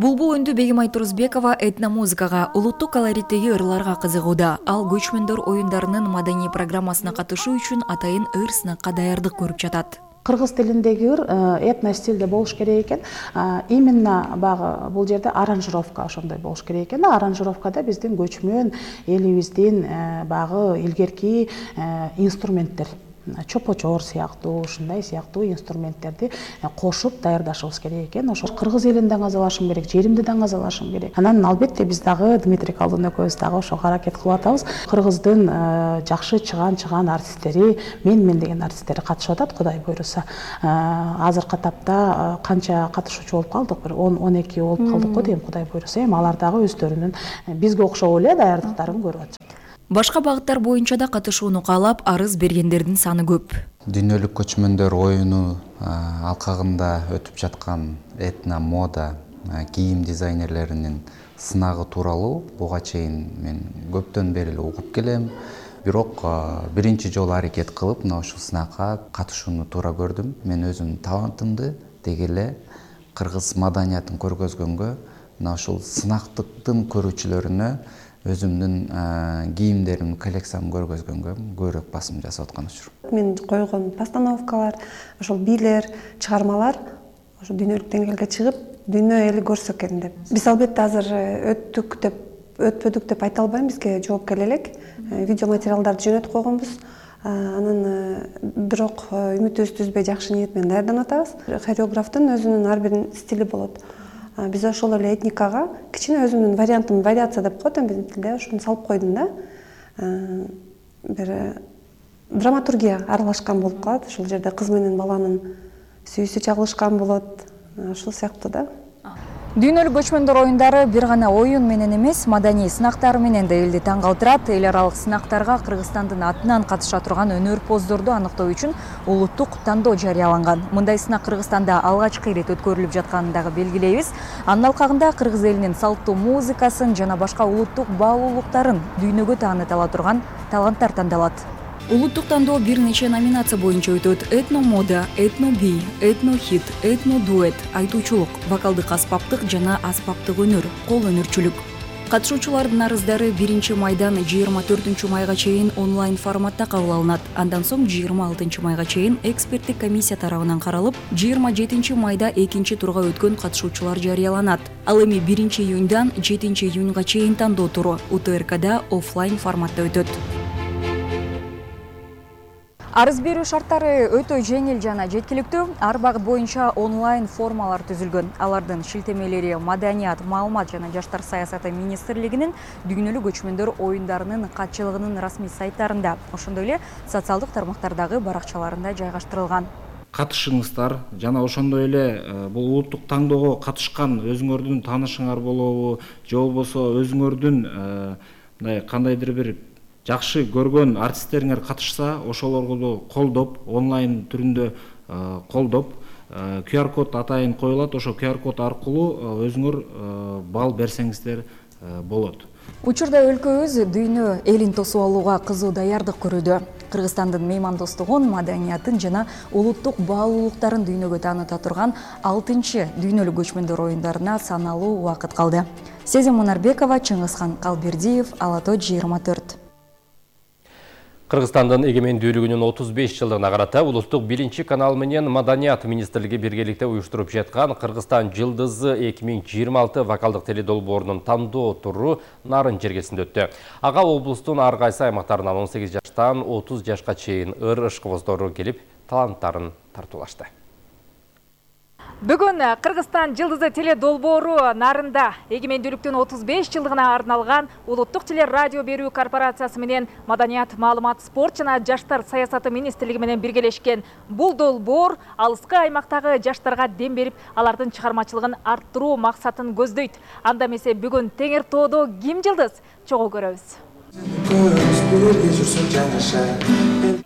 Булбул өндү Бегим Айтурузбекова этномузыкага, улуттук колориттеги ырларга кызыгууда. Ал көчмөндөр оюндарынын маданий программасына катышуу үчүн атайын ыр сынакка даярдык көрүп жатат. Кыргыз тилиндеги ыр этно стилде болуш керек экен. Именно багы бул жерде аранжировка ошондой болуш керек экен. Аранжировкада биздин көчмөн элибиздин багы илгерки инструменттер, чопочор сыяктуу, ушундай сыяктуу инструменттерди кошуп даярдашыбыз керек экен. Ошо кыргыз элин даңазалашым керек, жеримди даңазалашым керек. Анан албетте биз дагы Дмитрий Колдун экөөбүз дагы ошого аракет кылып атабыз. Кыргыздын жакшы чыган артисттери, мен деген артисттери катышып атат, Кудай буйруса. Азыркы тапта канча катышуучу болуп калдык? Бир 10-12 болуп калдык го дейм, Кудай буйруса. Эми алар дагы өздөрүнүн бизге окшоп эле даярдыктарын көрүп атышат. Башка багыттар боюнча да катышууну каалап, арыз бергендердин саны көп. Дүйнөлүк көчмөндөр оюну алкагында өтүп жаткан этно мода кийим дизайнерлеринин сынагы тууралуу буга чейин мен көптөн бери эле угуп келем. Бирок биринчи жолу аракет кылып мына ушул сынакка катышууну туура көрдүм. Мен өзүмдүн талантымды деги эле кыргыз маданиятын көргөзгөнгө, мына ушул сынактыктын көрүүчүлөрүнө өзүмдүн кийимдеримдин коллекциямды көргөзгөнгө көбүрөөк басым жасап аткан учур. Мен койгон постановкалар, ошол бийлер, чыгармалар ошо дүйнөлүк деңгээлге чыгып, дүйнө эли көрсө экен деп. Биз албетте азыр өтпөдүк деп айта албайм, бизге жооп келе элек. Видео материалдарды жөнөтүп койгонбуз. Анан бирок үмүтүбүздү үзбөй жакшы ниет менен даярданып атабыз. Хореографтын өзүнүн ар бир стили болот. Биз ошол эле этникага кичине өзүмдүн вариантым, вариация деп коет биздин тилде, ошону салып койдум да. Бир драматургия аралашкан болуп калат. Ушул жерде кыз менен баланын сүйүүсү чагылышкан болот. Ушул сыяктуу да. Дүйнөлүк көчмөндөр оюндары бир гана оюн менен эмес, маданий сынактар менен да элди таң калтырат. Эл аралык сынактарга Кыргызстандын атынан катыша турган өнөр-поздорду аныктоо үчүн улуттук тандоо жарыяланган. Мындай сынак Кыргызстанда алгачкы ирет өткөрүлүп жатканын дагы белгилейбиз. Анын алкагында кыргыз элинин салттуу музыкасын жана башка улуттук баалуулуктарын дүйнөгө тааныта турган таланттар тандалат. Улуттук тандоо бир нече номинация боюнча өтөт. Этно-мода, этно-би, этно-хит, этно-дуэт, айтуучулук, вокалдык аспаптык жана аспаптык өнөр, кол өнөрчүлүк. Катышуучулардын арыздары 1-майдан 24-майга чейин онлайн форматта кабыл алынат. Андан соң 26-майга чейин эксперттик комиссия тарабынан каралып, 27-майда 2-турга өткөн катышуучулар жарыяланат. Ал эми 1-июндан 7-июнга чейин тандоо туру УТРКда оффлайн форматта өтөт. Арыз берүү шарттары өтө жеңил жана жеткиликтүү. Ар багыт боюнча онлайн формалар түзүлгөн. Алардын шилтемелери Маданият, маалымат жана жаштар саясаты министрлигинин дүйнөлүк көчмөндөр оюндарынын катчылыгынын расмий сайттарында, ошондой эле социалдык тармактардагы баракчаларында жайгаштырылган. Катышыңыздар жана ошондой эле бул улуттук тандоого катышкан өзүңөрдүн таанышыңар болобу, же болбосо өзүңөрдүн мындай кандайдыр бир жакшы көргөн артисттериңер катышса, ошолорду колдоп, онлайн түрүндө колдоп, QR-код атайын коюлат, ошо QR-код аркылуу өзүңөр балл берсеңиздер болот. Учурда өлкөбүз дүйнө элин тосуп алууга кызуу даярдык көрүүдө. Кыргызстандын меймандостугун, маданиятын жана улуттук баалуулуктарын дүйнөгө тааныта турган 6-чы дүйнөлүк көчмөндөр оюндарына саналуу убакыт калды. Сезим Мунарбекова, Чыңгызхан Калбердиев, Ала Тоо 24. Кыргызстандын эгемендүүлүгүнүн 35 жылдыгына карата улуттук 1 канал менен Маданият министрлиги биргеликте уюштуруп жаткан Кыргызстан жылдызы 2026 вокалдык теледолбоорунун тандоо туру Нарын жергесинде өттү. Ага облустун ар кайсы аймактарынан 18 жаштан 30 жашка чейин ыр ышкыбоздору келип таланттарын тартуулашты. Бүгүн Кыргызстан жылдызы теледолбоору Нарында эгемендүүлүктүн 35 жылдыгына арналган улуттук телерадио берүү корпорациясы менен Маданият, маалымат, спорт жана жаштар саясаты министрлиги менен биргелешкен. Бул долбоор алыскы аймактагы жаштарга дем берип, алардын чыгармачылыгын арттыруу максатын көздөйт. Анда эмесе бүгүн Теңир тоодо ким жылдыз? Чогуу көрөбүз.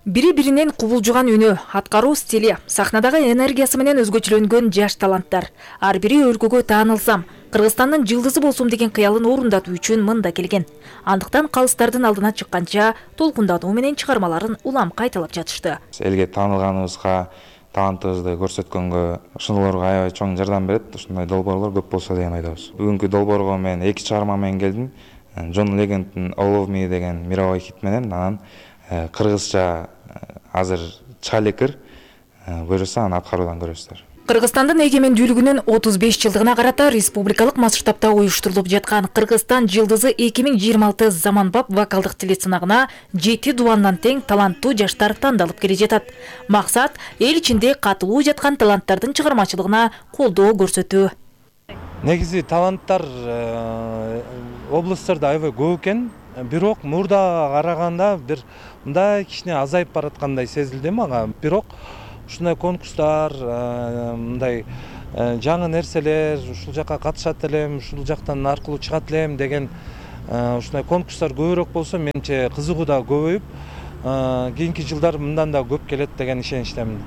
Бири-биринен кубулжуган үнү, аткаруу стили, сахнадагы энергиясы менен өзгөчөлөнгөн жаш таланттар. Ар бири өлкөгө таанылсам, Кыргызстандын жылдызы болсум деген кыялын орундатуу үчүн мында келген. Андыктан калыстардын алдына чыкканча толкундатуу менен чыгармаларын улам кайталап жатышты. Элге таанылганыбызга талантыбызды көрсөткөнгө, ошолорго аябай чоң жардам берет. Ушундай долбоорлор көп болсо деген ойдобуз. Бүгүнкү долбоорго мен 2 чыгарма менен келдим. John Legend'in All of Me деген мировой хит менен, анан кыргызча азыр чыга элекир. Буюрса аны аткаруудан көрөсүздөр. Кыргызстандын эгемендүүлүгүнүн 35 жылдыгына карата республикалык масштабта уюштурулуп жаткан Кыргызстан жылдызы 2026 заманбап вокалдык телесынагына 7 дубандан тең таланттуу жаштар тандалып келе жатат. Максат эл ичинде катылуу жаткан таланттардын чыгармачылыгына колдоо көрсөтүү. Негизи таланттар облустарда аябай көп экен, бирок мурда караганда бир мындай кичине азайып бараткандай сезилди мага. Бирок ушундай конкурстар, мындай жаңы нерселер, ушул жакка катышат элем, ушул жактан аркылуу чыгат элем деген ушундай конкурстар көбүрөөк болсо, менимче кызыгуу да көбөйүп, кийинки жылдар мындан да көп келет деген ишеничтемин.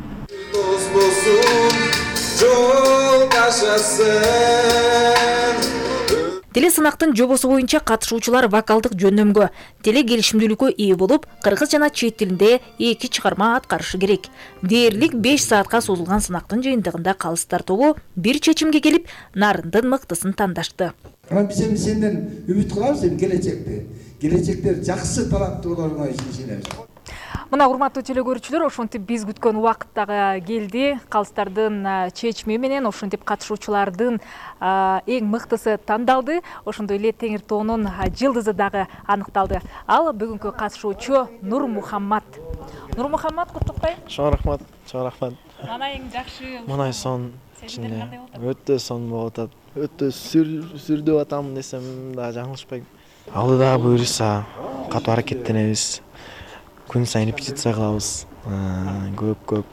Телесынактын жобосу боюнча катышуучулар вокалдык жөндөмгө, теле келишимдүүлүккө ээ болуп, кыргыз жана чет тилинде 2 чыгарма аткарышы керек. Дээрлик 5 саатка созулган сынактын жыйынтыгында калыстар тобу бир чечимге келип, нарындын мыктысын тандашты. Биз сенден үмүт кылабыз, келечекте жакшы таланттууларыңа ишенебиз. Мына урматтуу теле көрүүчүлөр, ошентип биз күткөн убакыт дагы келди. Калыстардын чечими менен ошентип катышуучулардын эң мыктысы тандалды. Ошондой эле Теңир тоонун жылдызы дагы аныкталды. Ал бүгүнкү катышуучу Нурмухаммат. Нурмухаммат, куттуктайм. Чоң рахмат, чоң рахмат. Мана эң жакшы. Мына сон ичинде өтө сон болуп атат. Өтө сүрдөп атам десем да жаңылышпайм. Алдыда буюрса катуу аракеттенебиз. Күн сайын репетиция кылабыз. Көп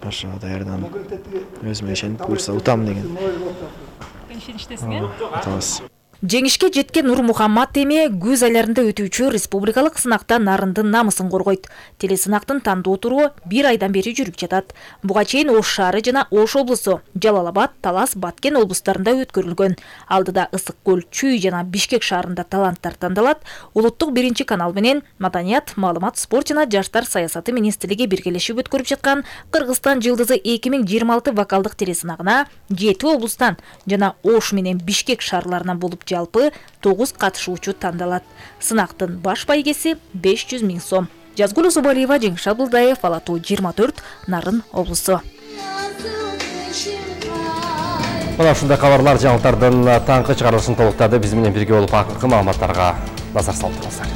ошо даярданып, өзүмө ишенип буюрса утам деген. Ишеничтесиң, Атабыз. Жеңишке жеткен Нурмухаммат эми күз айларында өтүүчү республикалык сынакта нарындын намысын коргойт. Телесынактын тандоо туру 1 айдан бери жүрүп жатат. Буга чейин Ош шаары жана Ош облусу, Жалал Абад, Талас, Баткен облустарында өткөрүлгөн. Алдыда Ысык көл, Чүй жана Бишкек шаарында таланттар тандалат. Улуттук 1 канал менен Маданият, Маалымат, спорт жана жаштар саясаты министрлиги биргелешип өткөрүп жаткан Кыргызстан жылдызы 2026 вокалдык телесынагына 7 облустан жана Ош менен Бишкек шаарларынан болуп жалпы 9 катышуучу тандалат. Сынактын баш байгеси 500 000 сом. Жазгүл Зубалиева, Жеңиш Абылдаев, Алатуу 24, Нарын облусу. Мына ушундай кабарлар жаңылыктардын таңкы чыгарылышын толуктады. Биз менен бирге болуп акыркы маалыматтарга назар салдыңыздар.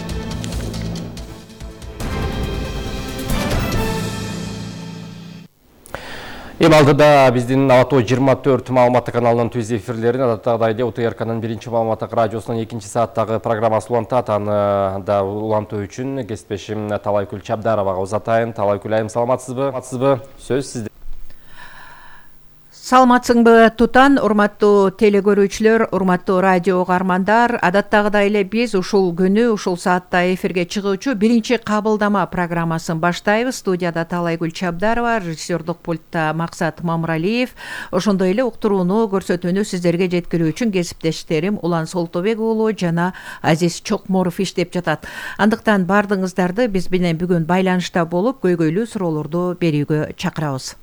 Эми алдыда биздин Алатуу 24 маалыматтык каналынын түз эфирлерин адаттагыдай УТРКнын 1 маалыматтык радиосунун 2 сааттагы программасы улантат. Аны да улантуу үчүн кесиптешим Талайкүл Чабдаровага узатайын. Талайкүл айым, саламатсызбы? Сөз сизде. Саламатсыңбы Тутан, урматтуу теле көрүүчүлөр, урматтуу радио угармандар. Адаттагыдай эле биз ушул күнү, ушул саатта эфирге чыгуучу 1 кабылдама программасын баштайбыз. Студияда Талайкүл Чабдарова, режиссердук пультта Максат Мамыралиев. Ошондой эле уктурууну, көрсөтүүнү сиздерге жеткирүү үчүн кесиптештерим Улан Солтобек уулу жана Азиз Чокморов иштеп жатат. Андыктан бардыгыңыздарды биз менен бүгүн байланышта болуп, көйгөйлүү суроолорду берүүгө чакырабыз.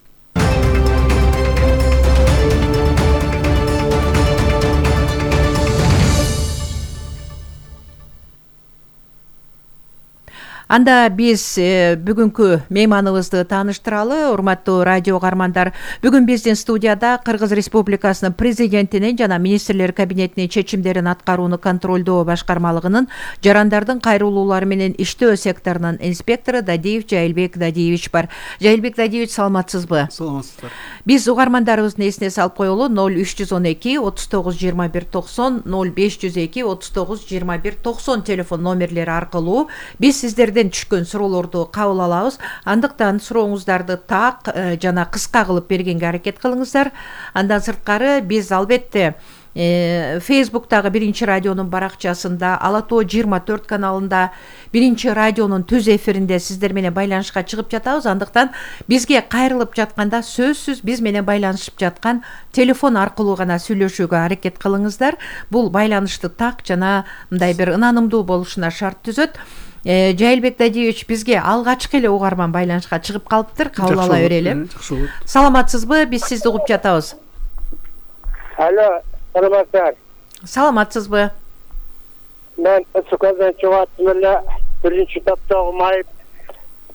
Анда биз бүгүнкү мейманыбызды тааныштыралы. Урматтуу радио угармандар, бүгүн биздин студияда Кыргыз Республикасынын президентинин жана министрлер кабинетинин чечимдерин аткарууну контролдоо башкармалыгынын жарандардын кайрылуулары менен иштөө секторунун инспектору Дадиев Жайылбек Дадиевич бар. Жайылбек Дадиевич, саламатсызбы? Саламатсыздар. Биз угармандарыбыздын эсине салып коелу, 0312 39 21 90, 0502 39 21 90 телефон номерлери аркылуу биз сиздерден түшкөн суроолорду кабыл алабыз. Андыктан сурооңуздарды так жана кыска кылып бергенге аракет кылыңыздар. Андан сырткары биз албетте Facebook'тагы 1 радионун баракчасында, Алатуу 24 каналында 1 радионун түз эфиринде сиздер менен байланышка чыгып жатабыз. Андыктан бизге кайрылып жатканда сөзсүз биз менен байланышып жаткан телефон аркылуу гана сүйлөшүүгө аракет кылыңыздар. Бул байланышты так жана мындай бир ынанымдуу болушуна шарт түзөт. Жайылбек Дадиевич бизге алгачкы эле угарман байланышка чыгып калыптыр. Кабыл ала берели. Жакшы болот. Саламатсызбы? Биз сизди угуп жатабыз. Алло, саламатсыздар. Саламатсызбы? Мен Ысыкөлдөн чыгып аттым эле. Биринчи топтогу Майып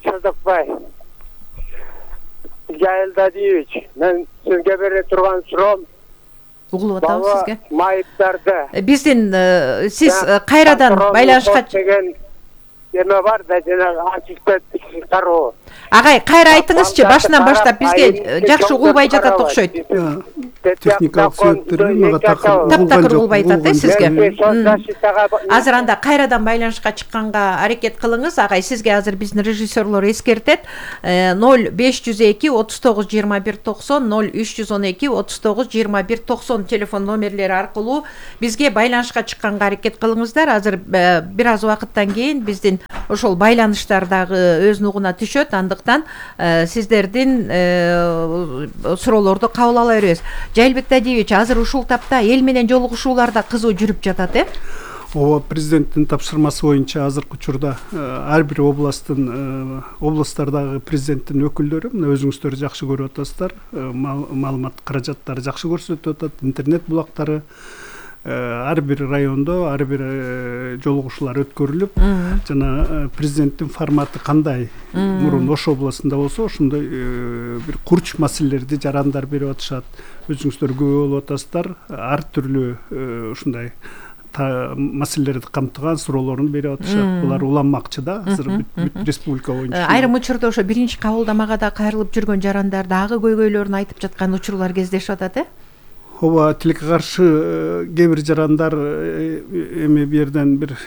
Садыкбай. Жайыл Дадиевич, мен сизге бере турган суроом угулуп атабыз сизге. Майыптарды. Биздин сиз кайрадан байланышка деген эме бар да, жанагы антиспет кароо. Агай, кайра айтыңызчы, башынан баштап бизге жакшы угулбай жатат окшойт. Техникалык себептерден мага таптакыр угулбай атат сизге. Азыр анда кайрадан байланышка чыкканга аракет кылыңыз. Агай, сизге азыр биздин режиссерлор эскертет. 0502 39 21 90 0312 39 21 90 телефон номерлери аркылуу бизге байланышка чыкканга аракет кылыңыздар. Азыр бир аз убакыттан кийин биздин ошол байланыштар дагы өз нугуна түшөт. Андыктан сиздердин суроолорду кабыл ала беребиз. Жайылбек Дадиевич, азыр ушул тапта эл менен жолугушуулар да кызуу жүрүп жатат, Ооба, президенттин тапшырмасы боюнча азыркы учурда ар бир областтардагы президенттин өкүлдөрү, мына өзүңүздөр жакшы көрүп атасыздар, маалымат каражаттары жакшы көрсөтүп атат, интернет булактары ар бир райондо ар бир жолугушуулар өткөрүлүп, жана президенттин форматы кандай мурун Ош областында болсо ошондой бир курч маселелерди жарандар берип атышат. Өзүңүздөр күбө болуп атасыздар, ар түрлүү ушундай маселелерди камтыган суроолорун берип атышат. Булар уланмакчы да азыр бүт республика боюнча. Айрым учурда ошо биринчи кабылдамага да кайрылып жүргөн жарандар дагы көйгөйлөрүн айтып жаткан учурлар кездешип атат, Ооба, тилекке каршы кээ бир жарандар эми бу жерден бир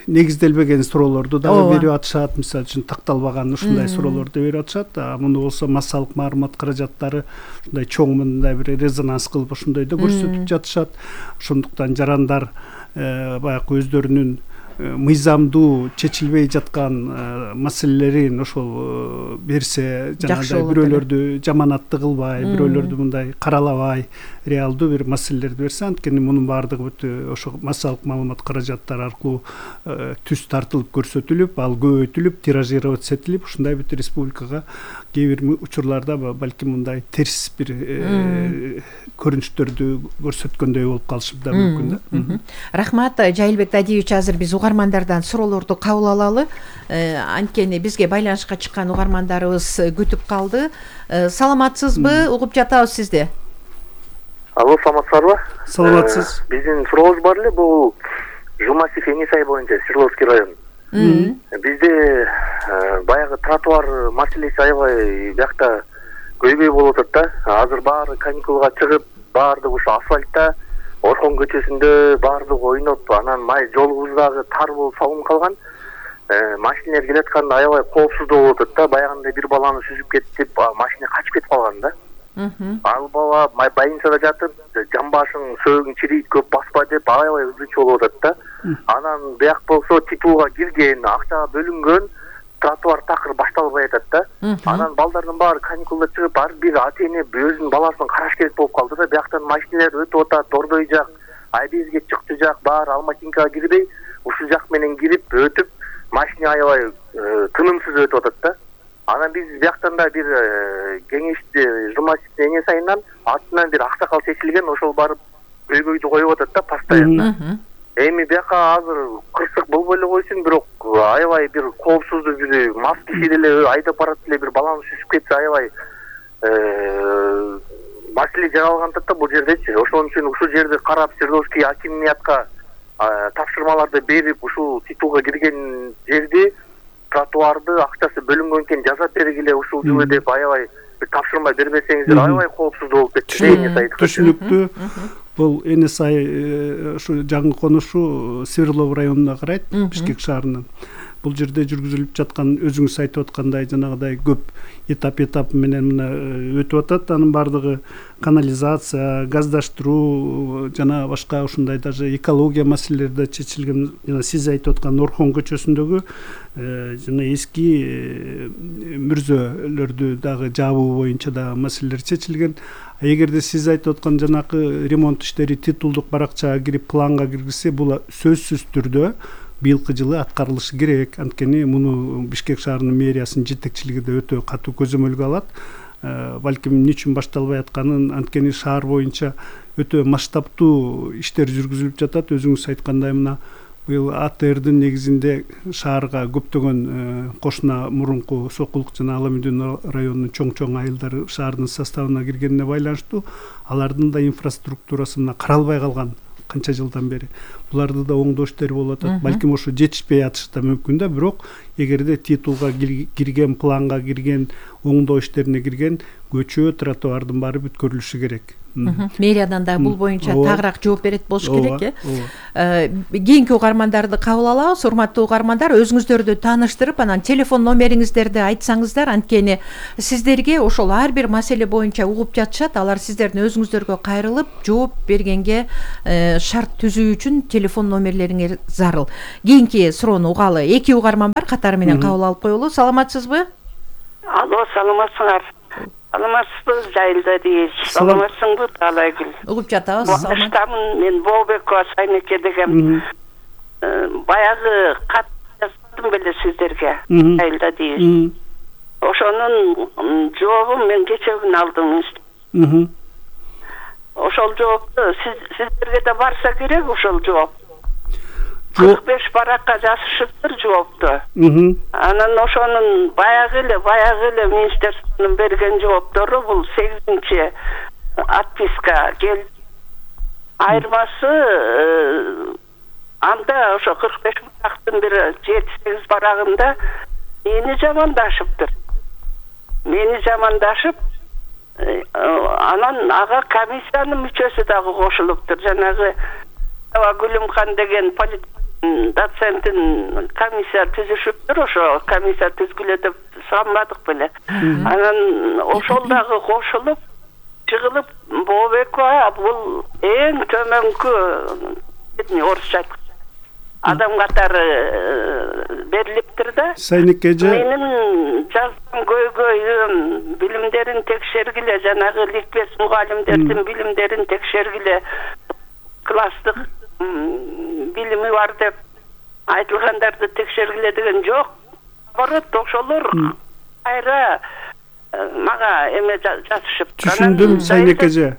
негизделбеген суроолорду дагы берип атышат. Мисалы үчүн такталбаган ушундай суроолорду берип атышат. Муну болсо массалык маалымат каражаттары ушундай чоң мындай бир резонанс кылып ошондойду көрсөтүп жатышат. Ошондуктан жарандар баягы өздөрүнүн мыйзамдуу чечилбей жаткан маселелерин ошол берсе, жанагындай бирөөлөрдү жаманатты кылбай, бирөөлөрдү мындай каралабай, реалдуу бир маселелерди берсе, анткени мунун баардыгы бүт ошо массалык маалымат каражаттары аркылуу түз тартылып көрсөтүлүп, ал көбөйтүлүп, тиражировать этилип, ушундай бүт республикага кээ бир учурларда балким мындай терс бир көрүнүштөрдү көрсөткөндөй болуп калышы да мүмкүн да. Рахмат, Жайылбек Дадиевич, азыр биз угармандардан суроолорду кабыл алалы. Анткени бизге байланышка чыккан угармандарыбыз күтүп калды. Саламатсызбы? Угуп жатабыз сизди. Алло, саламатсыздарбы? Саламатсыз. Биздин сурообуз бар эле, бул Жумасев Энисай боюнча, Свердловский район. Бизде баягы тротуар маселеси аябай биякта көйгөй болуп атат да. Азыр баары каникулга чыгып, баардыгы ушу асфальтта, Орхон көчөсүндө баардыгы ойноп, анан жолубуз дагы тар болуп салынып калган. Машиналар келатканда аябай коопсуздуу болуп атат да. Баягындай бир баланы сүзүп кетип, машина качып кетип калган да. Ал бала больницада жатып, жамбашың сөөгүң чирийт, көп баспа деп аябай ызычуу болуп атат да. Анан бияк болсо титулга кирген, акча бөлүнгөн, тротуар такыр башталбай атат да. Анан балдардын баары каникулда чыгып, ар бир ата эне өзүнүн баласын караш керек болуп калды да. Бияктан машиналар өтүп атат, Ордой жак, Айбезге чыкты жак, баары Алматинкага кирбей, ушул жак менен кирип өтүп, машина аябай тынымсыз өтүп атат да. Анан биз бияктан да бир кеңешчи Жумасев Энисайынан артынан бир аксакал чечилген, ошол барып көйгөйдү коюп атат да постоянно. Эми бияка азыр кырсык болбой эле койсун, бирок аябай бир коопсуздуу бир мас киши деле айдап барат эле бир баланы сүзүп кетсе аябай маселе жаралган атат да бул жердечи. Ошон үчүн ушул жерди карап Свердловский акимиятка тапшырмаларды берип, ушул титулга кирген жерди тротуарды акчасы бөлүнгөн экен жасап бергиле ушул жылы деп аябай бир тапшырма бербесеңиздер аябай коопсуздуу болуп кетти. Түшүнүктүү. Бул Энисай ушу жаңы конушу Свердлов районуна карайт, Бишкек шаарынан. Бул жерде жүргүзүлүп жаткан өзүңүз айтып аткандай жанагыдай көп этап менен мына өтүп атат. Анын баардыгы канализация, газдаштыруу жана башка ушундай даже экология маселелери да чечилген. Жана сиз айтып аткан Орхон көчөсүндөгү жана эски мүрзөлөрдү дагы жабуу боюнча да маселелер чечилген. Эгерде сиз айтып аткан жанакы ремонт иштери титулдук баракчага кирип планга киргизсе, бул сөзсүз түрдө быйылкы жылы аткарылышы керек. Анткени муну Бишкек шаарынын мэриясынын жетекчилиги да өтө катуу көзөмөлгө алат. Балким эмне үчүн башталбай атканын, анткени шаар боюнча өтө масштабтуу иштер жүргүзүлүп жатат. Өзүңүз айткандай мына быйыл АТРдин негизинде шаарга көптөгөн кошуна мурунку Сокулук жана Ала Медеу районунун чоң айылдары шаардын составына киргенине байланыштуу алардын да инфраструктурасы мына каралбай калган канча жылдан бери. Буларды да оңдош иштери болуп атат. Балким ошо жетишпей атышы да мүмкүн да, бирок эгерде титулга кирген, планга кирген, оңдоо иштерине кирген көчө, тротуардын баары бүткөрүлүшү керек. Мэриядан да бул боюнча тагыраак жооп берет болуш керек, Кийинки угармандарды кабыл алабыз. Урматтуу угармандар, өзүңүздөрдү тааныштырып, анан телефон номериңиздерди айтсаңыздар, анткени сиздерге ошол ар бир маселе боюнча угуп жатышат. Алар сиздердин өзүңүздөргө кайрылып, жооп бергенге шарт түзүү үчүн телефон номерлериңер зарыл. Кийинки суроону угалы. 2 угарман бар, катары менен кабыл алып коелу. Саламатсызбы? Алло, саламатсыңар. Саламатсызбы, Жайылда дейбиз. Саламатсыңбы, Таалайгүл? Угуп жатабыз. Саламатсызбы. Мен Бообекова Сайнеке деген баягы кат жаздым беле сиздерге. Жайылда дейбиз. Ошонун жообун мен кече күнү алдым. Ошол жоопту сиздерге да барса керек, ошол жооп. 45 баракка жазышыптыр жоопту. Анан ошонун баягы эле министрликтин берген жооптору бул 8-чи отписка келди. Айырмасы анда ошо 45 барактын бири 7-8 барагында мени жамандашып, анан ага комиссиянын мүчөсү дагы кошулуптур. Жанагы Гүлүмкан деген доценттин комиссия түзүшүптүр, ошо комиссия түзгүлө деп сурамадык беле. Анан ошол дагы кошулуп, чыгылып, Бообекова бул эң төмөнкү орусча адам катары берилиптир да. Сайнекеже менин жазган көйгөйүм билимдерин текшергиле, жанагы ликбез мугалимдердин билимдерин текшергиле, класстык билими бар деп айтылгандарды текшергиле деген жок. Наоборот, ошолор кайра мага эме жазышып. Түшүндүм, Сайнекеже.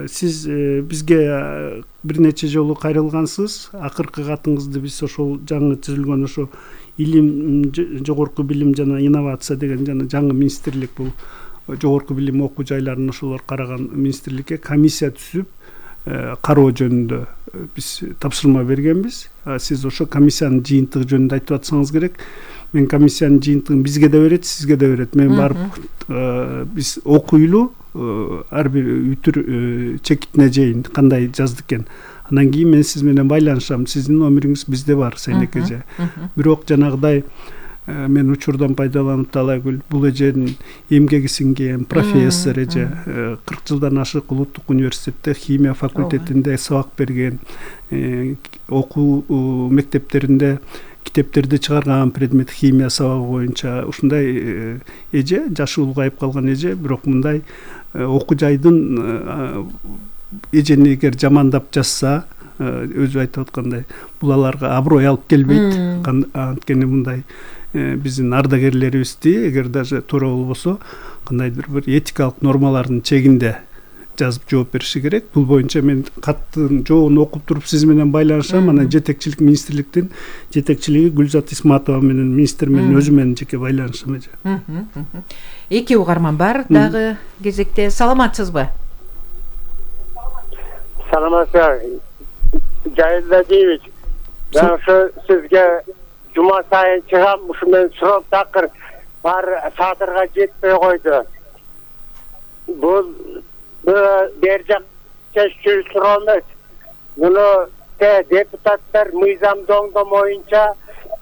Сиз бизге бир нече жолу кайрылгансыз. Акыркы катыңызды биз ошол жаңы түзүлгөн ошо илим, жогорку билим жана инновация деген жана жаңы министрлик, бул жогорку билим окуу жайларын ошолор караган министрликке комиссия түзүп кароо жөнүндө биз тапшырма бергенбиз. Сиз ошо комиссиянын жыйынтыгы жөнүндө айтып атсаңыз керек. Мен комиссиянын жыйынтыгын бизге да берет, сизге да берет. Мен барып биз окуйлу ар бир үтүр чекитине чейин кандай жазды экен. Андан кийин мен сиз менен байланышам. Сиздин номериңиз bizde бар, Сайнекеже. Бирок жанагыдай мен учурдан пайдаланып Таалайгүл, бул эженин эмгеги сиңген профессор эже, 40 жылдан ашык улуттук университетте химия факультетинде сабак берген, окуу мектептеринде китептерди чыгарган предмет химия сабагы боюнча. Ушундай эже, жашы улгайып калган эже, бирок мындай окуу жайдын эжени эгер жамандап жазса, өзү айтып аткандай, бул аларга аброй алып келбейт. Анткени мындай биздин ардагерлерибизди эгер даже туура болбосо, кандайдыр бир этикалык нормалардын чегинде жазып жооп бериши керек. Бул боюнча мен каттын жообун окуп туруп сиз менен байланышам. Анан жетекчилик министрликтин жетекчилиги Гүлзат Исматова менен, министр менен өзү менен жеке байланышам эже. 2 угарман бар дагы кезекте. Саламатсызбы? Саламатсызбы. Жайылда дейбиз. Мен ошо сизге жума сайын чыгам, ушу мен суроо такыр бар садырга жетпей койду. Бул бер жак чечүү суроо эмес. Муну депутаттар мыйзамды оңдомоюнча,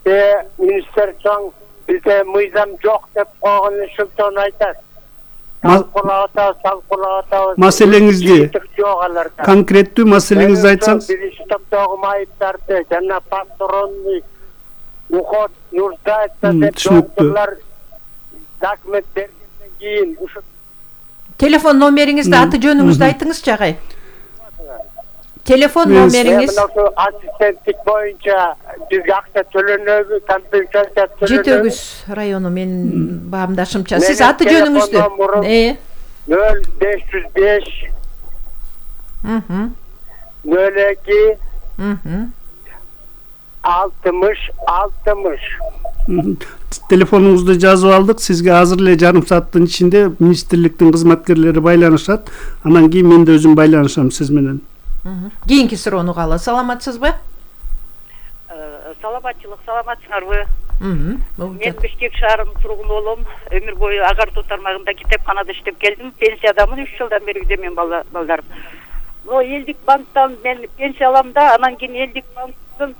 министрликтен бизде мыйзам жок деп койгон ушунтон айтат. Маселеңизди, конкреттүү маселеңизди айтсаңыз. Биринчи топтогу майыптарды жана патронный уход нуждается деп доктурлар документ бергенден кийин ушу телефон номериңизди, аты жөнүңүздү айтыңызчы, агай. Телефон номериңиз? Ошо ассистенттик боюнча бизге акча төлөнөбү, компенсация төлөнөбү? Жетөгүз району менин баамдашымча. Сиз аты жөнүңүздү? 0505 02 60. Телефонуңузду жазып алдык. Сизге азыр эле жарым сааттын ичинде министрликтин кызматкерлери байланышат. Анан кийин мен да өзүм байланышам сиз менен. Кийинки суроону каалы. Саламатсызбы? Саламатчылык, саламатсыңарбы? Мен Бишкек шаарынын тургуну болом. Өмүр бою Агартуу тармагында китепканада иштеп келдим. Пенсиядамын 3 жылдан бери үйдө мен балдарым. Элдик банктан мен пенсия алам да, анан кийин Элдик банктын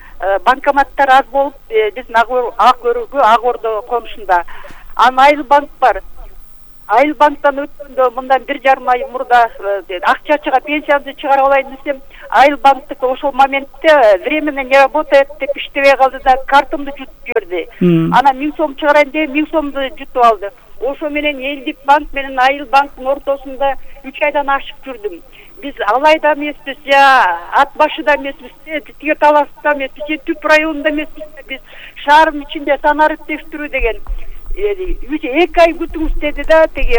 банкоматтары аз болуп, биздин Ак Ордо конушунда. Анан Айыл банк бар. Айыл банктан өткөндө мындан 1,5 ай мурда акча чыга пенсиямды чыгарып алайын десем, Айыл банктык ошол моментте временно не работает деп иштебей калды да картамды жутуп жиберди. Анан 1000 сом чыгарайын деп 1000 сомду жутуп алды. Ошо менен Элдик банк менен Айыл банктын ортосунда 3 айдан ашык жүрдүм. Биз Алайда эмеспиз, Ат башыда эмеспиз, Тиге таласта эмеспиз, Түп районунда эмеспиз, биз шаардын ичинде санарып тештирүү деген 2 ай күтүңүз деди да, тиги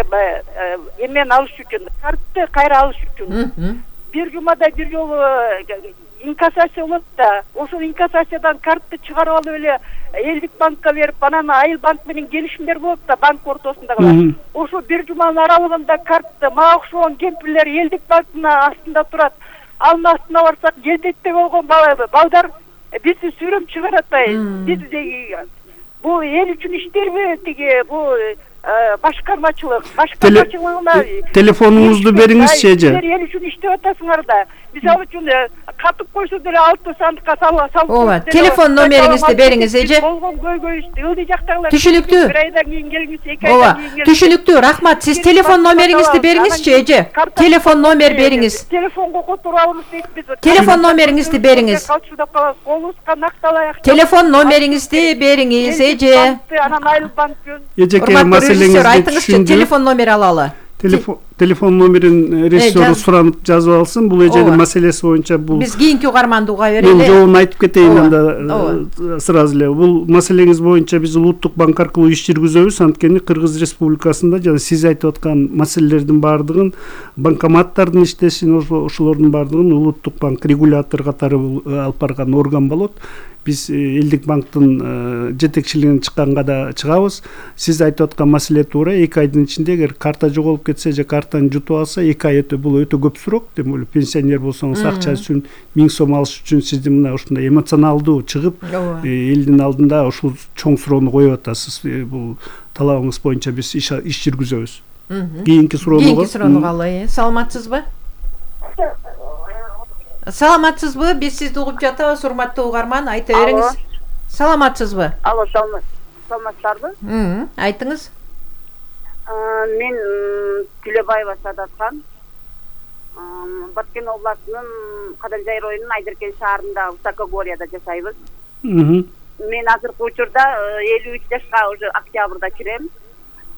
эмен алыш үчүн, картты кайра алыш үчүн. Бир жумада бир жолу инкассация болот да, ошол инкассациядан картты чыгарып алып эле Элдик банкка берип, анан Айыл банк менен келишимдер болот да, банк ортосундагылар. Ошо бир жуманын аралыгында картты мага окшогон кемпирлер Элдик банктын астында турат. Анын астына барсак, желдетте болгон балдар бизди сүрөп чыгарат. Биз бул эл үчүн иштейбиз, тиги бул башкармачылыгына телефонуңузду бериңизчи эже. Эл үчүн иштеп атасыңар да. Мисалы үчүн катып койсо деле 6 сандыкка салып. Ооба, телефон номериңизди бериңиз эже. Болгон көйгөй ылдый жактагылар. Түшүнүктүү. Bir aydan кийин келиңиз, 2 aydan кийин келиңиз. Түшүнүктүү, рахмат. Сиз телефон номериңизди бериңизчи эже. Телефон номер бериңиз. Телефонго которуп алабыз дейбиз. Телефон номериңизди бериңиз. Телефон номериңизди бериңиз эже. Анан Айыл банктын. Эжеке маселеңизди айтыңызчы, телефон номер алалы. Телефон номерин режиссеру суранып жазып алсын. Бул эженин маселеси боюнча бул. Биз кийинки угарманды уга берели. Мен жообун айтып кетейин анда сразу эле. Бул маселеңиз боюнча биз Улуттук банк аркылуу иш жүргүзөбүз. Анткени Кыргыз Республикасында жана сиз айтып аткан маселелердин баардыгын, банкоматтардын иштешин, ошолордун баардыгын Улуттук банк регулятор катары алып барган орган болот. Биз Элдик банктын жетекчилигине чыкканга да чыгабыз. Сиз айтып аткан маселе туура. 2 айдын ичинде эгер карта жоголуп кетсе же картаны жутуп алса, 2 ай бул өтө көп срок. Демек пенсионер болсоңуз акча үчүн 1000 сом алыш үчүн сиздин мына ушундай эмоционалдуу чыгып, элдин алдында ушул чоң суроону коюп атасыз. Бул талабыңыз боюнча биз иш жүргүзөбүз. Кийинки суроону каалы. Саламатсызбы? Саламатсызбы? Биз сизди угуп жатабыз, урматтуу угарман, айта бериңиз. Саламатсызбы? Алло, саламатсыздарбы? Айтыңыз. Мен Тилебаева Садатхан. Баткен областынын Кадамжай районунун Айдеркен шаарында Высокогорьяда жашайбыз. Мен азыркы учурда 53 жашка уже октябрда кирем.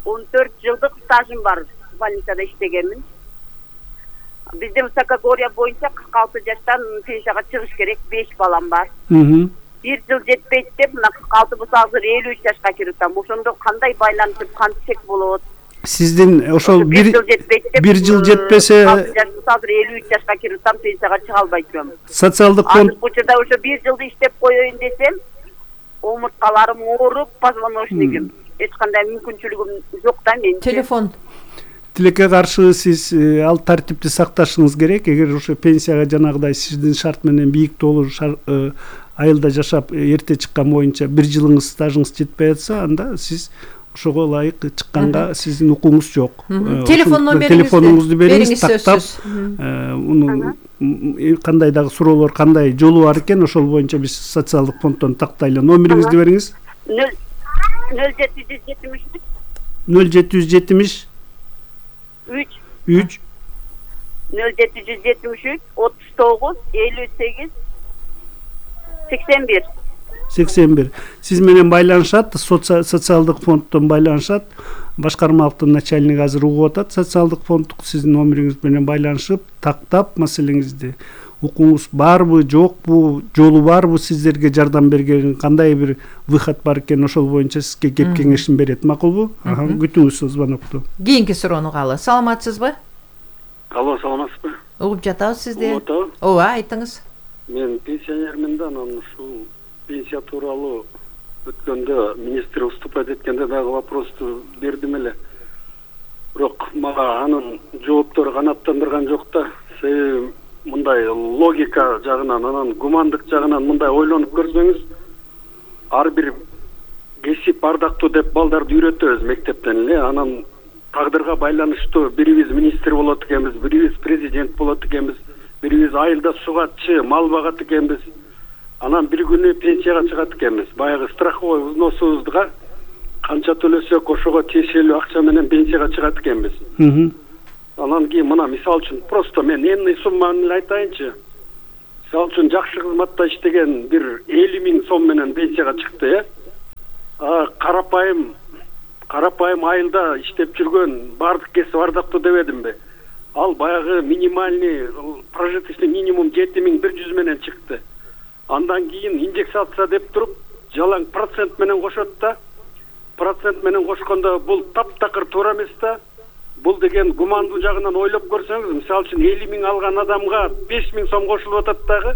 14 жылдык стажым бар, больницада иштегенмин. Bizde Высокогорья боюнча 46 жаштан пенсияга чыгыш керек, 5 балам бар. 1 жыл жетпейт деп, мына 46 болсо азыр 53 жашка кирип атам. Ошондо кандай байланышып, кантсек болот? Сиздин ошол 1 жыл жетпесе, азыр 53 жашка кирип атам, пенсияга чыга албай жүрөм. Социалдык фонд учурда ошо 1 жылды иштеп коеюн десем, омурткаларым ооруп, позвоночнигим, эч кандай мүмкүнчүлүгүм жок да мен. Телефон тилекке каршы сиз ал тартипти сакташыңыз керек. Эгер ошо пенсияга жанагыдай сиздин шарт менен бийик толуу айылда жашап эрте чыккан боюнча 1 жылыңыз стажыңыз жетпей атса, анда сиз ошого ылайык чыкканга сиздин укугуңуз жок. Телефонуңузду бериңиз, тактап. Муну кандай дагы суроолор, кандай жолу бар экен, ошол боюнча биз социалдык фонддон тактайлы. Номериңизди бериңиз. 0770 3 0773 39 58 81 81. Сиз менен байланышат, социалдык фонддон байланышат. Башкармалыктын начальниги азыр угуп атат. Социалдык фонддук сиздин номериңиз менен байланышып, тактап маселеңизди укугуңуз барбы, жокпу, жолу барбы сиздерге жардам берген, кандай бир выход бар экен, ошол боюнча сизге кеп кеңешин берет, макулбу? Күтүңүз звонокту. Кийинки суроону каалы. Саламатсызбы? Алло, саламатсызбы? Угуп жатабыз сизди. Ооба, айтыңыз. Мен пенсионермин да, анан ушул пенсия тууралуу өткөндө министр выступать эткенде дагы вопросту бердим эле. Бирок мага анын жооптору канааттандырган жок да. Себеби мындай логика жагынан, анан гумандык жагынан мындай ойлонуп көрсөңүз, ар бир кесип ардактуу деп балдарды үйрөтөбүз мектептен эле. Анан тагдырга байланыштуу бирибиз министр болот экенбиз, бирибиз президент болот экенбиз, бирибиз айылда сугатчы, мал багат экенбиз. Анан бир күнү пенсияга чыгат экенбиз. Баягы страховой взносубузга канча төлөсөк ошого тиешелүү акча менен пенсияга чыгат экенбиз. Анан кийин мына мисал үчүн просто мен эмне сумманы эле айтайынчы. Мисал үчүн жакшы кызматта иштеген бир 50 000 сом менен пенсияга чыкты, карапайым айылда иштеп жүргөн бардык кесип ардактуу дебедимби? Ал баягы минимальный прожиточный минимум 7100 менен чыкты. Андан кийин индексация деп туруп, жалаң процент менен кошот да. Процент менен кошкондо бул таптакыр туура эмес да. Бул деген гумандуу жагынан ойлоп көрсөңүз, мисалы үчүн 50 000 алган адамга 5 000 сом кошулуп атат дагы,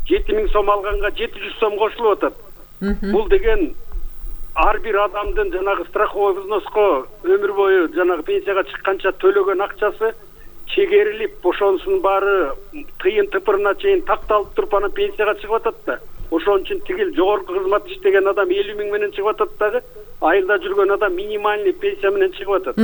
7 000 сом алганга 700 сом кошулуп атат. Бул деген ар бир адамдын жанагы страховой взноско өмүр бою жанагы пенсияга чыкканча төлөгөн акчасы чегерилип, ошонусунун баары тыйын тыпырына чейин такталып туруп анан пенсияга чыгып атат да. Ошон үчүн тигил жогорку кызмат иштеген адам 50 000 менен чыгып атат дагы, айылда жүргөн адам минимальный пенсия менен чыгып атат.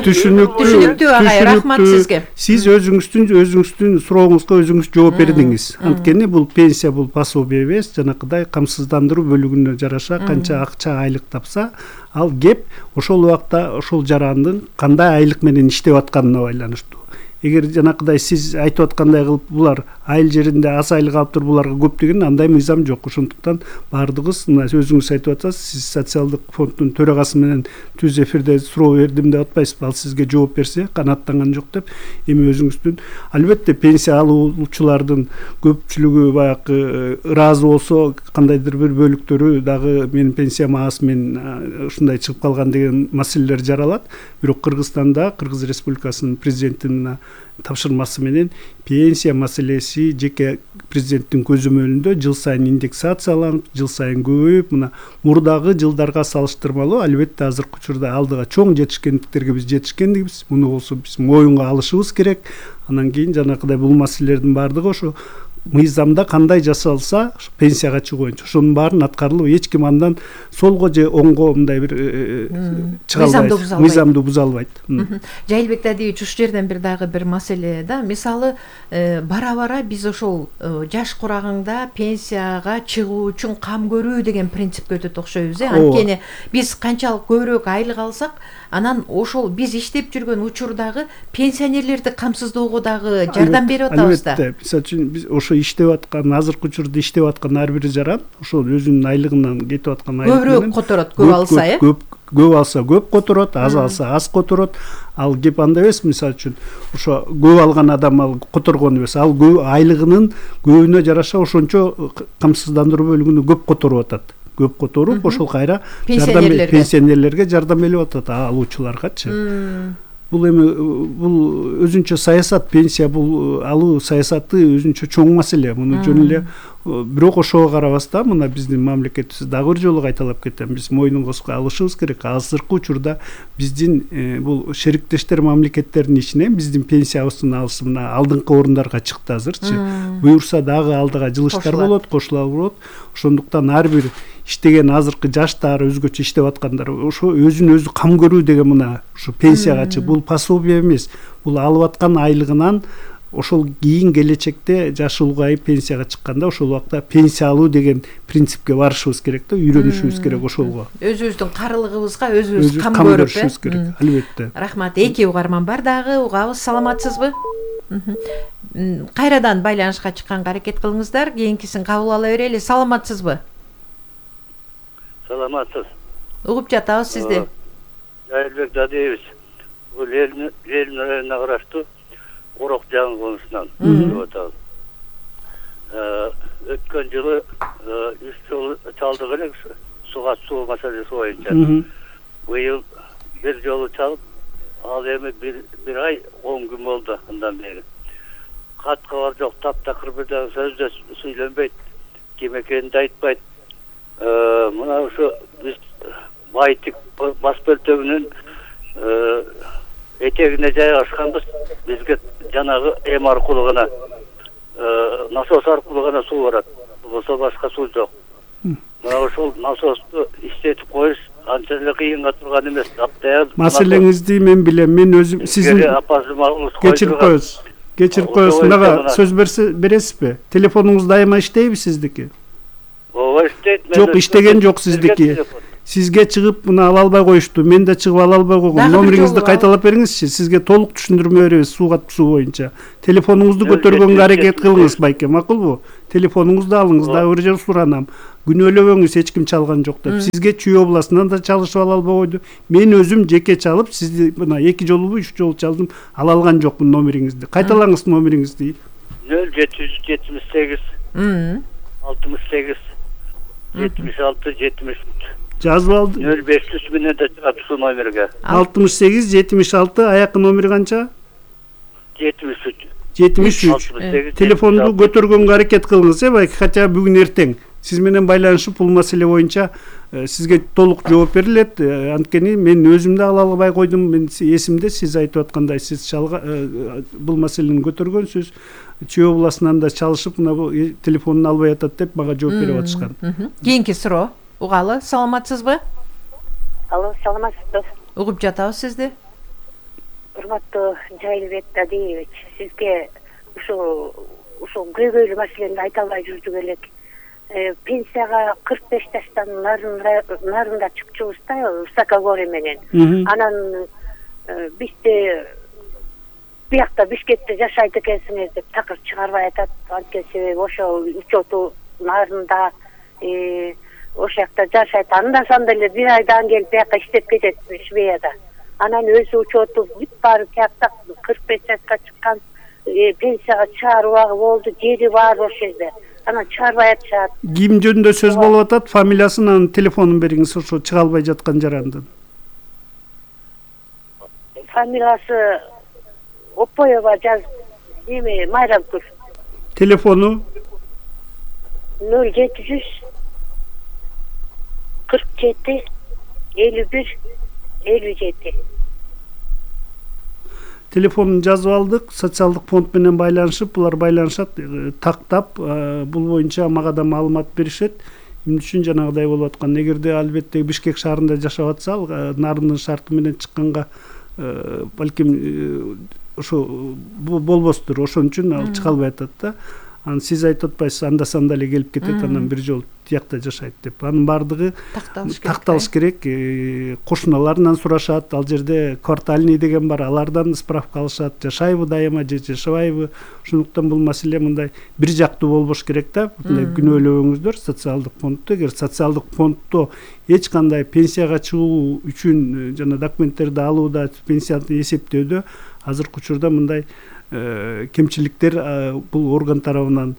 Түшүнүктүү агай, рахмат сизге. Сиз өзүңүздүн сурооңузга өзүңүз жооп бердиңиз. Анткени бул пенсия бул пособие эмес, жанакыдай камсыздандыруу бөлүгүнө жараша канча акча айлык тапса, ал кеп ошол убакта ошол жарандын кандай айлык менен иштеп атканына байланыштуу. Эгер жанакыдай сиз айтып аткандай кылып булар айыл жеринде аз айлык алып туруп буларга көп деген андай мыйзам жок. Ошондуктан баардыгыбыз мына өзүңүз айтып атасыз, сиз социалдык фонддун төрагасы менен түз эфирде суроо бердим деп атпайсызбы? Ал сизге жооп берсе, канааттанган жок деп. Эми өзүңүздүн албетте пенсия алуучулардын көпчүлүгү баягы ыраазы болсо, кандайдыр бир бөлүктөрү дагы менин пенсиям аз, мен ушундай чыгып калган деген маселелер жаралат. Бирок Кыргызстанда, Кыргыз Республикасынын президентинин тапшырмасы менен пенсия маселеси жеке президенттин көзөмөлүндө жыл сайын индексацияланып, жыл сайын көбөйүп, мына мурдагы жылдарга салыштырмалуу албетте азыркы учурда алдыга чоң жетишкендиктерге биз жетишкендигибиз. Муну болсо биз моюнга алышыбыз керек. Анан кийин жанакыдай бул маселелердин баардыгы ошо мыйзамда кандай жасалса пенсияга чыгуу боюнча ошонун баарын аткарылып, эч ким андан солго же оңго мындай бир чыга албайт, мыйзамды буза албайт. Жайылбек Дадиевич, ушул жерден бир дагы бир маселе да. Мисалы, бара-бара биз ошол жаш курагыңда пенсияга чыгуу үчүн кам көрүү деген принципке өтөт окшойбуз. Анткени биз канчалык көбүрөөк айлык алсак, анан ошол биз иштеп жүргөн учурдагы пенсионерлерди камсыздоого дагы жардам берип атабыз да. Албетте, мисалы үчүн биз ошо иштеп аткан, азыркы учурда иштеп аткан ар бир жаран ошол өзүнүн айлыгынан кетип аткан айлык менен көбүрөөк которот, көп алса, көп алса көп которот, аз алса аз которот. Ал кеп андай эмес, мисалы үчүн ошо көп алган адам ал которгон эмес, ал айлыгынын көбүнө жараша ошончо камсыздандыруу бөлүгүнө көп которуп атат. Көп которуп, ошол кайра пенсионерлерге жардам берип атат, алуучуларгачы. Бул эми бул өзүнчө саясат, пенсия бул алуу саясаты өзүнчө чоң маселе. Муну жөн эле бирок ошого карабастан мына биздин мамлекетибиз дагы бир жолу кайталап кетем, биз мойнуңузга алышыбыз керек. Азыркы учурда биздин бул шериктештер мамлекеттердин ичинен биздин пенсиябыздын алышы мына алдыңкы орундарга чыкты азырчы. Буюрса дагы алдыга жылыштар болот, кошула болот. Ошондуктан ар бир иштеген азыркы жаштар, өзгөчө иштеп аткандар ошо өзүн өзү кам көрүү деген мына ушу пенсиягачы бул пособие эмес. Бул алып аткан айлыгынан ошол кийин келечекте жашы улгайып пенсияга чыкканда ошол убакта пенсия алуу деген принципке барышыбыз керек да, үйрөнүшүбүз керек ошолго. Өзүбүздүн карылыгыбызга өзүбүз кам көрүшүбүз керек, албетте. Рахмат. Эки угарман бар дагы, угабыз. Саламатсызбы? Кайрадан байланышка чыкканга аракет кылыңыздар, кийинкисин кабыл ала берели. Саламатсызбы? Саламатсыз. Угуп жатабыз сизди. Жайылбек Дадиевич, бул элдин районуна караштуу Орок жаңы конусунан деп атабыз. өткөн жылы 3 жолу чалдык элек суу маселеси боюнча. Быйыл бир жолу чалып, ал эми бир ай 10 күн болду андан бери. Кат кабар жок, таптакыр бир дагы сөз да сүйлөнбөйт, ким экенин да айтпайт. Мына ушу биз Байтик бас бөлтөгүнүн этегине жайгашканбыз. Бизге жанагы эм аркылуу гана насос аркылуу гана суу барат. Болсо башка суу жок. Мына ошол насосту иштетип коюш анча эле кыйынга турган эмес. Маселеңизди мен билем. Мен өзүм сиздин кечирип коесуз. Мага сөз бересизби? Телефонуңуз дайыма иштейби сиздики? Ооба, иштейт. Жок, иштеген жок сиздики. Сизге чыгып мына ала албай коюшту. Мен да чыгып ала албай койгом. Номериңизди кайталап бериңизчи. Сизге толук түшүндүрмө беребиз суу боюнча. Телефонуңузду көтөргөнгө аракет кылыңыз, байке, макулбу? Телефонуңузду алыңыз, дагы бир жолу суранам. Күнөөлөбөңүз, эч ким чалган жок деп. Сизге Чүй областынан да чалышып ала албай койду. Мен өзүм жеке чалып, сизди мына 2 жолубу 3 жолу чалдым, ала алган жокмун номериңизди. Кайталаңыз номериңизди. 0778 68 76 73. Жазып алдым. 0500 менен да чыгат ушул номерге. 68 76, аякы номери канча? 73. 73. Телефонду көтөргөнгө аракет кылыңыз, байке, хотя бүгүн эртең. Сиз менен байланышып бул маселе боюнча сизге толук жооп берилет. Анткени мен өзүм да ала албай койдум. Мен эсимде сиз айтып аткандай сиз бул маселени көтөргөнсүз. Чүй областынан да чалышып мына бул телефонун албай атат деп мага жооп берип атышкан. Кийинки суроо. Угалы, саламатсызбы? Алло, саламатсызбы? Угуп жатабыз сизди. Урматтуу Жайылбек Дадиевич, сизге ушул көйгөйлүү маселени айта албай жүрдүк элек. Пенсияга 45 жаштан нарында чыкчубуз да, высокогорье менен. Анан бизде биякта Бишкекте жашайт экенсиңиз деп такыр чыгарбай атат. Анткени себеби ошол учету нарында ошол жакта жашайт. Анда-санда эле бир айдан келип бияка иштеп кетет Швеяда. Анан өзү учету бүт баары тиякта 45 жашка чыккан пенсияга чыгаруу убагы болду, жери бар ошол жерде. Анан чыгарбай атышат. Ким жөнүндө сөз болуп атат? Фамилиясын, анын телефонун бериңиз, ошо чыга албай жаткан жарандын. Фамилиясы Опоева Майрамкүл. Телефону 0700 47 51 57. Телефонун жазып алдык, социалдык фонд менен байланышып, булар байланышат, тактап, бул боюнча мага да маалымат беришет. Эмне үчүн жанагыдай болуп аткан? Эгерде албетте Бишкек шаарында жашап атса, нарындын шарты менен чыкканга балким ошо болбостур. Ошон үчүн ал чыга албай атат да. Анан сиз айтып атпайсыз, анда-санда эле келип кетет, анан бир жолу тиякта жашайт деп. Анын баардыгы такталыш керек. Кошуналарынан сурашат, ал жерде квартальный деген бар, алардан справка алышат, жашайбы дайыма же жашабайбы. Ошондуктан бул маселе мындай бир жактуу болбош керек да. Мындай күнөөлөбөңүздөр социалдык фондду. Эгер социалдык фонддо эч кандай пенсияга чыгуу үчүн жана документтерди алууда, пенсияны эсептөөдө азыркы учурда мындай кемчиликтер бул орган тарабынан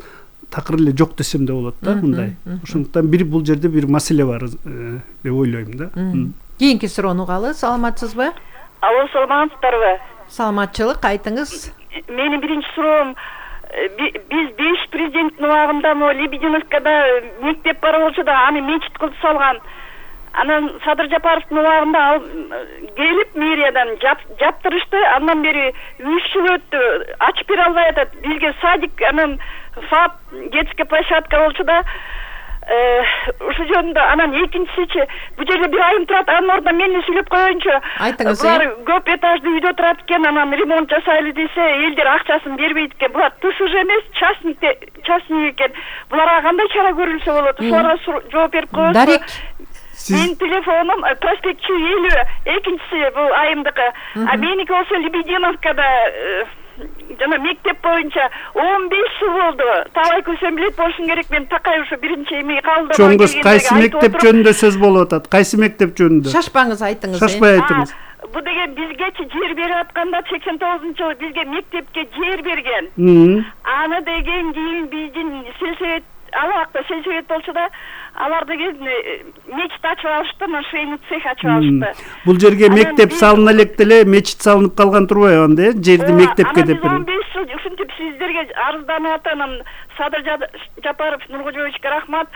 такыр эле жок десем да болот да, мындай. Ошондуктан бул жерде бир маселе бар деп ойлойм да. Кийинки суроону угалы, саламатсызбы? Алло, саламатсыздарбы? Саламатчылык, айтыңыз. Менин биринчи суроом, биз 5 президенттин убагында Лебединовкада мектеп бар болчу да, аны мечит кылып салган. Анан Садыр Жапаровдун убагында ал келип мэриядан жаптырышты. Андан бери 3 жыл өттү, ачып бере албай атат. Бизге садик, анан ФАП, детская площадка болчу да. Ушул жөнүндө анан экинчисичи, бул жерде бир айым турат, анын ордуна мен эле сүйлөп коеюнчу. Айтыңыз. Булар көп этаждуу үйдө турат экен, анан ремонт жасайлы десе, элдер акчасын бербейт экен. Булар ТСЖ эмес, частный экен. Буларга кандай чара көрүлсө болот? Ошолорго жооп берип коесузбу? Дарик. Менин телефонум проспект Чүй 50, экинчиси бул айымдыкы. А меники болсо Лебединовкада жана мектеп боюнча 15 жыл болду. Талай көсөм билет болушун керек. Мен такай ушу биринчи эми калдым. Чоңгуз, кайсы мектеп жөнүндө сөз болуп атат? Кайсы мектеп жөнүндө? Шашпаңыз, айтыңыз. Шашпай айтыңыз. Бул деген бизгечи жер берип атканда 89-жылы бизге мектепке жер берген. Аны деген кийин биздин сельсовет ал убакта сельсовет болчу да, алар деген мечит ачып алышты, анан швейный цех ачып алышты. Бул жерге мектеп салына элек деле мечит салынып калган турбайбы анда, жерди мектепке деп берген. 15 жыл ушинтип сиздерге арызданып атам, анан Садыр Жапаров Нуркожоевичке рахмат,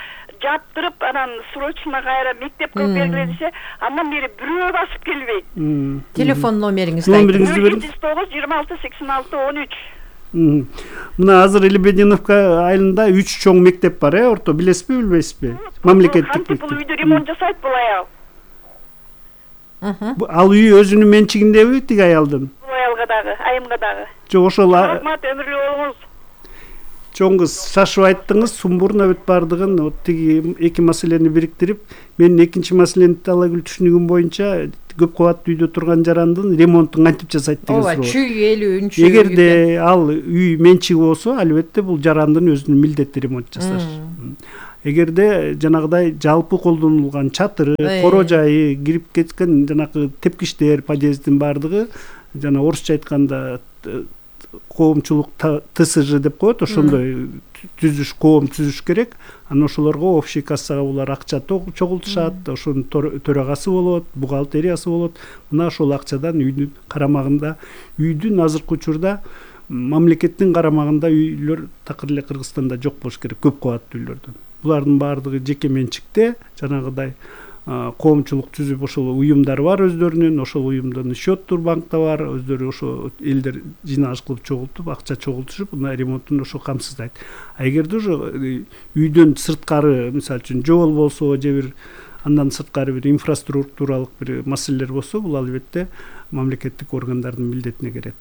жаптырып, анан срочно кайра мектеп кылып бергиле десе, андан бери бирөө басып келбейт. Телефон номериңизди айтыңыз. 709 26 86 13. Мына азыр Лебединовка айылында 3 чоң мектеп бар, орто билесизби, билбейсизби? Мамлекеттик мектеп. Бул үйдө ремонт жасайт бул аял. Ал үй өзүнүн менчигиндеби тиги аялдын? Бул аялга дагы, айымга дагы. Жок, ошол рахмат, өмүрлүү болуңуз. Чоң кыз, шашып айттыңыз, сумбурна бүт бардыгын, тиги эки маселени бириктирип, менин экинчи маселени Талайгүл түшүнүгүм боюнча көп кабаттуу үйдө турган жарандын ремонтун кантип жасайт деген суроо. Ооба, чүй элүүнчү. Эгерде ал үй менчиги болсо, албетте бул жарандын өзүнүн милдети ремонт жасаш. Эгерде жанагыдай жалпы колдонулган чатыры, коро жайы, кирип кеткен жанагы тепкичтер, подъездин бардыгы, жана орусча айтканда коомчулук ТСЖ деп коет, ошондой түзүш, коом түзүш керек. Анан ошолорго общий кассага булар акча чогултушат, ошонун төрагасы болот, бухгалтериясы болот. Мына ошол акчадан үйдүн карамагында, үйдүн азыркы учурда мамлекеттин карамагында үйлөр такыр эле Кыргызстанда жок болуш керек, көп кабаттуу үйлөрдөн. Булардын баардыгы жеке менчикте, жанагыдай коомчулук түзүп ошол уюмдар бар өздөрүнүн, ошол уюмдун счеттур банкта бар, өздөрү ошо элдер жыйналыш кылып чогултуп, акча чогултушуп, мына ремонтун ошо камсыздайт. Эгерде ошо үйдөн сырткары, мисалы үчүн жол болсо, же бир андан сырткары бир инфраструктуралык бир маселелер болсо, бул албетте мамлекеттик органдардын милдетине кирет.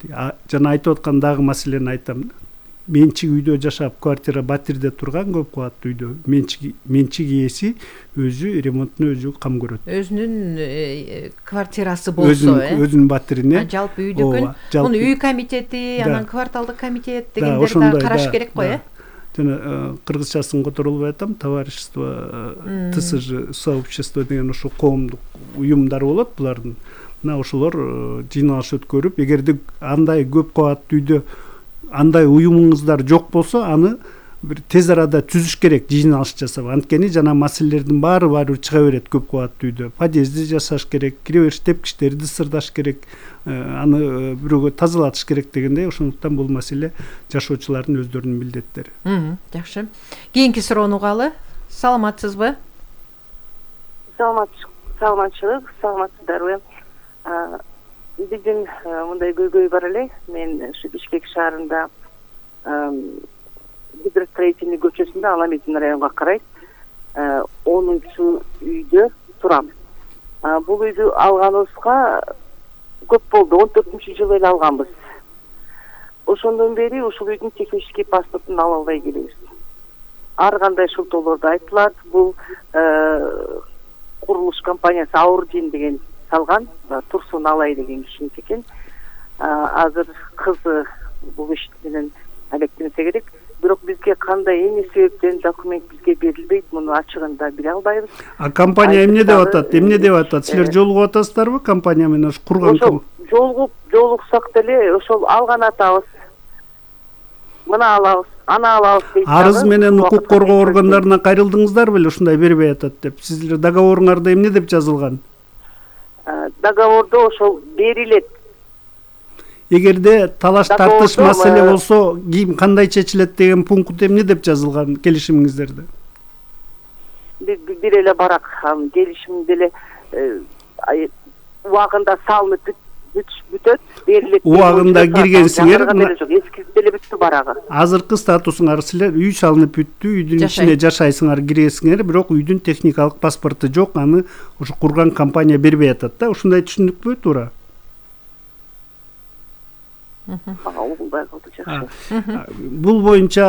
Жана айтып аткан дагы маселени айтам. Менчик үйдө жашап, квартира батирде турган көп кабаттуу үйдө менчик ээси өзү ремонтуна өзү кам көрөт. Өзүнүн квартирасы болсо, өзүнүн батирине. Жалпы үйдүкүн, муну үй комитети, анан кварталдык комитет дегендерди да караш керек го, Жана кыргызчасын которулбай атам, товарищество, ТСЖ, сообщество деген ошо коомдук уюмдар болот булардын. Мына ошолор жыйналыш өткөрүп, эгерде андай көп кабаттуу үйдө андай уюмуңуздар жок болсо, аны бир тез арада түзүш керек, жыйналыш жасап. Анткени жана маселелердин баары чыга берет көп кабаттуу үйдө. Подъезди жасаш керек, кире бериш тепкичтерди сырдаш керек, аны бирөөгө тазалатыш керек дегендей. Ошондуктан бул маселе жашоочулардын өздөрүнүн милдеттери. Жакшы. Кийинки суроону угалы. Саламатсызбы? Саламатчылык, саламатсыздарбы? Биздин мындай көйгөй бар эле. Мен Бишкек шаарында Гидростроительный көчөсүндө Аламедин районуна карайт 10-чу үйдө турам. Бул үйдү алганыбызга көп болду, 14-жылы эле алганбыз. Ошондон бери ушул үйдүн технический паспортун ала албай келебиз. Ар кандай шылтоолорду айтылат. Бул курулуш компаниясы Аурдин деген салган, Турсун Алай деген кишиники экен. Азыр кызы бул иш менен алектенсе керек. Бирок бизге кандай эмне себептен документ бизге берилбейт, муну ачыгында биле албайбыз. Компания эмне деп атат? Силер жолугуп атасыздарбы компания менен курган? Жолуксак деле ошол алган атабыз. Мына алабыз, ана алабыз дейт. Арыз менен укук коргоо органдарына кайрылдыңыздар беле, ушундай бербей атат деп? Сиздер договоруңарда эмне деп жазылган? Договордо ошол берилет. Эгерде талаш тартыш маселе болсо, кандай чечилет деген пункт эмне деп жазылган келишимиңиздерде? Бир эле барак келишимде эле убагында салынып бүтөт, берилет. Убагында киргенсиңер, эскизип эле бүттү барагы. Азыркы статусуңар силер үй салынып бүттү, үйдүн ичине жашайсыңар, киресиңер, бирок үйдүн техникалык паспорту жок, аны ушу курган компания бербей атат да. Ушундай түшүндүкпү, туура? Бул боюнча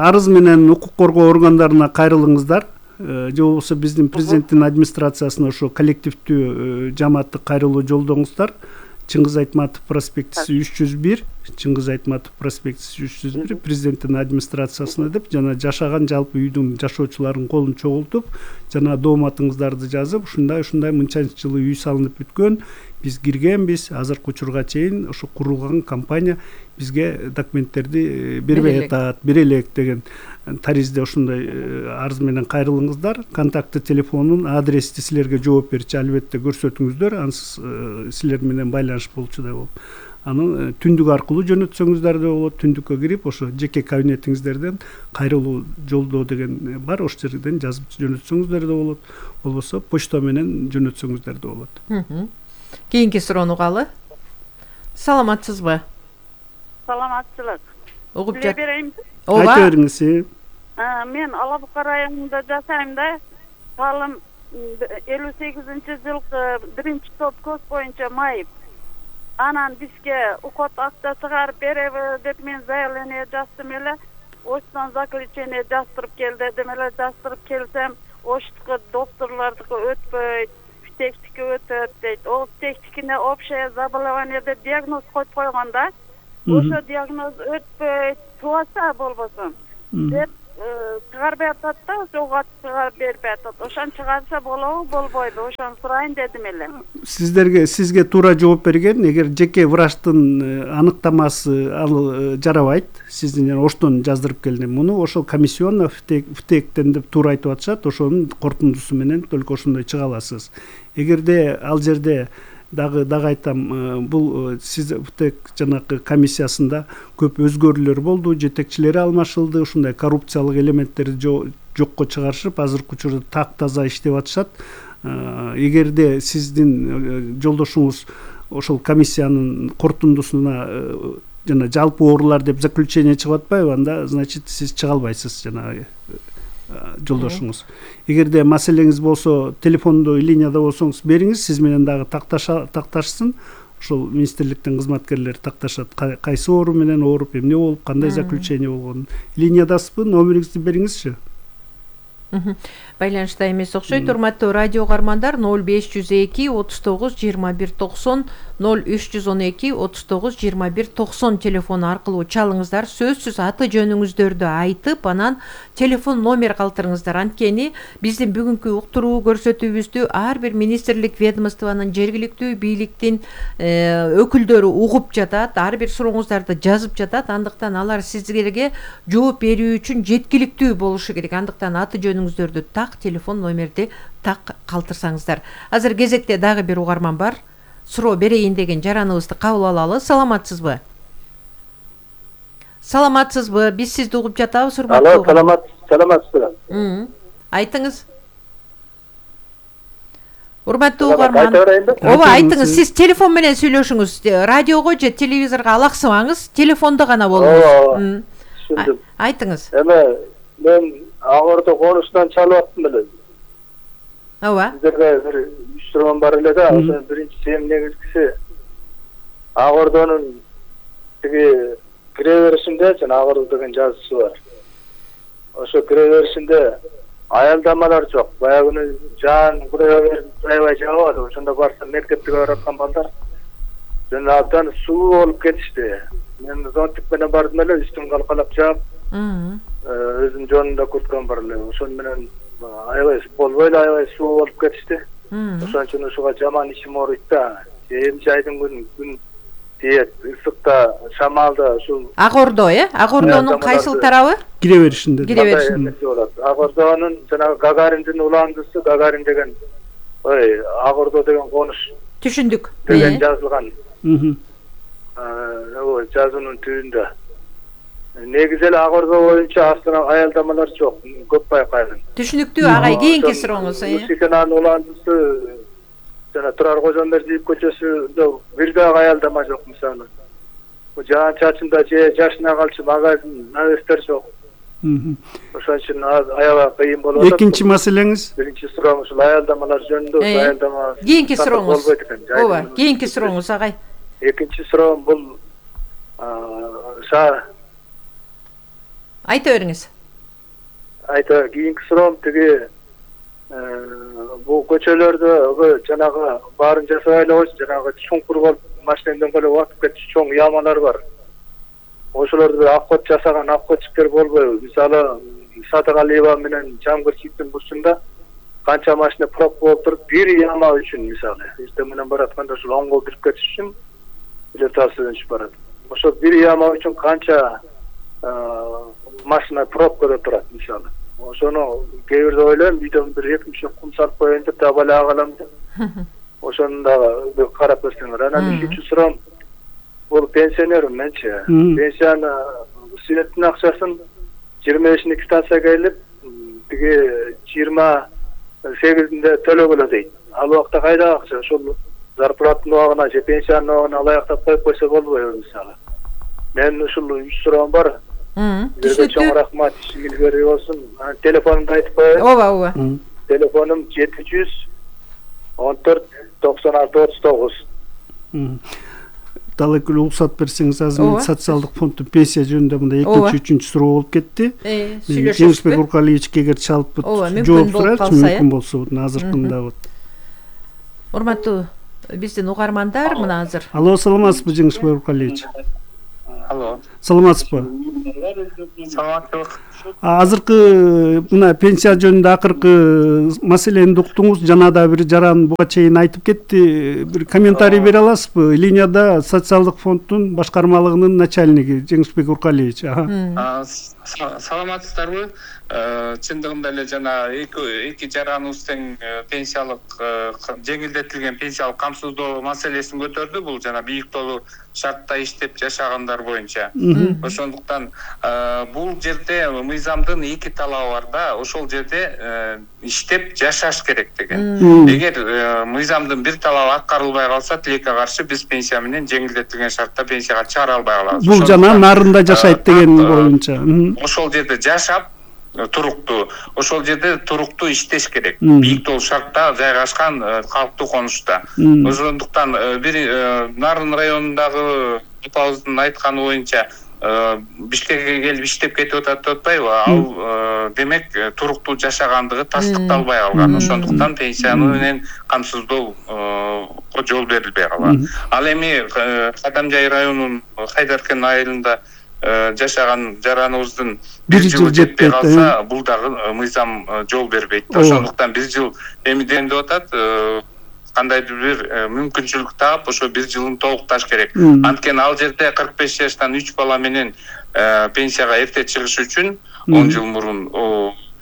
арыз менен укук коргоо органдарына кайрылыңыздар. Же болбосо биздин президенттин администрациясына ошо коллективдүү жамааттык кайрылуу жолдоңуздар. Чыңгыз Айтматов проспектиси 301, Чыңгыз Айтматов проспектиси 301, президенттин администрациясына деп, жана жашаган жалпы үйдүн жашоочулардын колун чогултуп, жана дооматыңыздарды жазып, ушундай мынчанчы жылы үй салынып бүткөн, биз киргенбиз, азыркы учурга чейин ошо курулган компания бизге документтерди бербей атат, бере элек деген таризде ошондой арыз менен кайрылыңыздар. Контакты телефонун, адрести силерге жооп берчү албетте көрсөтүңүздөр. Ансыз силер менен байланыш болчудай болуп. Аны түндүк аркылуу жөнөтсөңүздөр да болот. Түндүккө кирип ошо жеке кабинетиңиздерден кайрылуу жолдоо деген бар, ошол жерден жазып жөнөтсөңүздөр да болот. Болбосо почта менен жөнөтсөңүздөр да болот. Кийинки суроону угалы. Саламатсызбы? Саламатчылык. Угуп Биле берейин. Айта бериңиз. Мен Ала Бука районунда жашайм да. Талым 58-жылкы 1-топ көз боюнча майып. Анан бизге укот акча чыгарып береби деп мен заявление жаздым эле. Оштон заключение жаздырып кел дедим эле. Жаздырып келсем, оштуку докторлордуку өтпөйт, птектики өтөт дейт. Ол птектикине общее заболевание деп диагноз коюп койгон да. Ошо диагноз өтпөйт, туаса болбосун деп чыгарбай атат да, ошого чыгарып бербей атат. Ошон чыгарса болобу, болбойбу? Ошону сурайын дедим эле. Сизге туура жооп берген. Эгер жеке врачтын аныктамасы ал жарабайт, сиздин оштон жаздырып келдим муну, ошол комиссионно птектен деп туура айтып атышат. Ошонун корутундусу менен только ошондой чыга аласыз. Эгерде ал жерде дагы айтам, бул сиз птек жанагы комиссиясында көп өзгөрүүлөр болду, жетекчилери алмашылды, ушундай коррупциялык элементтерди жокко чыгарышып, азыркы учурда так таза иштеп атышат. Эгерде сиздин жолдошуңуз ошол комиссиянын корутундусуна жана жалпы оорулар деп заключение чыгып атпайбы, анда значит сиз чыга албайсыз жанагы жолдошуңуз. Эгерде маселеңиз болсо, телефондо линияда болсоңуз бериңиз, сиз менен дагы такташсын. Ошол министрликтин кызматкерлери такташат, кайсы оору менен ооруп, эмне болуп, кандай заключение болгонун. Линиядасызбы, номериңизди бериңизчи. Байланышта эмес окшойт. Урматтуу радио угармандар, 0502 39 21 90, 0312 39 21 90 телефон аркылуу чалыңыздар. Сөзсүз аты жөнүңүздөрдү айтып, анан телефон номер калтырыңыздар. Анткени биздин бүгүнкү уктуруу көрсөтүүбүздү ар бир министрлик, ведомствонун, жергиликтүү бийликтин өкүлдөрү угуп жатат, ар бир сурооңуздарды жазып жатат. Андыктан алар сиздерге жооп берүү үчүн жеткиликтүү болушу керек. Андыктан аты жөнүңүздөрдү так, телефон номерди так калтырсаңыздар. Азыр кезекте дагы бир угарман бар. Суроо берейин деген жараныбызды кабыл алалы. Саламатсызбы? Саламатсызбы? Биз сизди угуп жатабыз, урматтуу. Алло, саламатсызбы? Айтыңыз. Урматтуу угарман. Ооба, айтыңыз. Сиз телефон менен сүйлөшүңүз. Радиого же телевизорго алаксыбаңыз, телефондо гана болуңуз. Түшүндүм. Айтыңыз. Мен Агордо конуштан чалып аттым эле. Ооба. Сиздерге бир суроо бар эле да, ошо биринчиси эми негизгиси Агордонун тиги кире беришинде жана Агордо деген жазуусу бар. Ошо кире беришинде аялдамалар жок. Баягы жан аябай жагабады. Ошондо барсам мектепке бараткан балдар жана абдан суу болуп кетишти. Мен зонтик менен бардым эле, үстүм калкалап жаап, өзүм жонунда курткам бар эле. Ошон менен аябай болбой эле аябай суу болуп кетишти. Ошон үчүн ушуга жаман ичим ооруйт да. Эми айдын күн тиет, ысыкта, шамалда ушул. Агордо, Агордонун кайсыл тарабы? Кире беришинде. Агордонун жана Гагариндин уландысы, Гагарин деген, Агордо деген конуш. Түшүндүк. Деген жазылган. Жазуунун түбүндө. Негизи эле Агордо боюнча астына аялдамалар жок, көп байкайм. Түшүнүктүү, агай, кийинки сурооңуз. Мусиканын уландысы жана Турар Кожомбердиев көчөсүндө бир дагы аялдама жок мисалы. Жаан чачында же жашына калчу магазин, навестер жок. Ошон үчүн аябай кыйын болуп атат. Экинчи маселеңиз? Биринчи сурооң ушул аялдамалар жөнүндө, аялдама. Кийинки сурооңуз. Ооба, кийинки сурооңуз, агай. Экинчи суроом бул айта бериңиз. Кийинки суроом тиги бул көчөлөрдө жанагы баарын жасабай эле койчу, жанагы чуңкур болуп машинеден коло батып кетчү чоң ямалар бар. Ошолорду обход жасаган обходчиктер болбойбу? Мисалы Садыгалиева менен Жамгырчиевдин бурчунда канча машина проб болуп туруп, бир яма үчүн мисалы эртең менен баратканда ушул оңго кирип кетиш үчүн билет алып барат. Ошол бир яма үчүн канча машина пробкада турат мисалы. Ошону кээ бирде ойлойм, үйдөн бир 2 кум салып коеюн деп дагы бала калам деп. Ошону дагы карап көрсөңөр. Анан үчүнчү суроом, бул пенсионермин менчи. Пенсияны светтин акчасын 25-ні квитанцияга илип, тиги 28-інде төлөгөлө дейт. Ал убакта кайда акча? Ошол зарплаттын убагына же пенсиянын убагына алаяктап коюп койсо болбойбу мисалы. Мен ушул 3 суроом бар. Сизге чоң рахмат, ишиңиз берүү болсун. Телефонумду айтып коеюн. Ооба. Телефонум 714 96 39. Дал экөө уруксат берсеңиз, азыр мен социалдык фонддун пенсия жөнүндө мындай 2-3 суроо болуп кетти. Жеңишбек Уркалиевичке эгер чалып жооп сурачы, мүмкүн болсо азыркында вот. Урматтуу биздин угармандар, мына азыр. Алло, саламатсызбы Жеңишбек Уркалиевич? Алло. Саламатсызбы? Саламаттык. Азыркы мына пенсия жөнүндө акыркы маселени уктуңуз, жана да бир жаран буга чейин айтып кетти. Бир комментарий бере аласызбы? Линияда социалдык фонддун башкармалыгынын начальниги Жеңишбек Уркалиевич. Саламатсыздарбы? Чындыгында эле жана эки жараныбыз тең пенсиялык жеңилдетилген пенсиялык камсыздоо маселесин көтөрдү. Бул жана бийиктолу шартта иштеп жашагандар боюнча. Ошондуктан бул жерде мыйзамдын эки талабы бар да, ошол жерде иштеп жашаш керек деген. Эгер мыйзамдын бир талабы аткарылбай калса, тилекке каршы биз пенсия менен жеңилдетилген шартта пенсияга чыгара албай калабыз. Бул жана нарында жашайт деген боюнча. Ошол жерде жашап туруктуу, ошол жерде туруктуу иштеш керек. Бийиктолу шартта жайгашкан калктуу конушта. Ошондуктан бир Нарын районундагы апабыздын айтканы боюнча Бишкекке келип иштеп кетип атат деп атпайбы? Ал демек туруктуу жашагандыгы тастыкталбай калган. Ошондуктан пенсияны менен камсыздоо жол берилбей калган. Ал эми Кадамжай районунун Хайдаркен айылында жашаган жараныбыздын 1 жыл жетпей калса, бул дагы мыйзам жол бербейт. Ошондуктан 1 жыл эмиден деп атат, кандайдыр бир мүмкүнчүлүк таап, ошо 1 жылын толукташ керек. Анткени ал жерде 45 жаштан 3 бала менен пенсияга эрте чыгыш үчүн 10 жыл мурун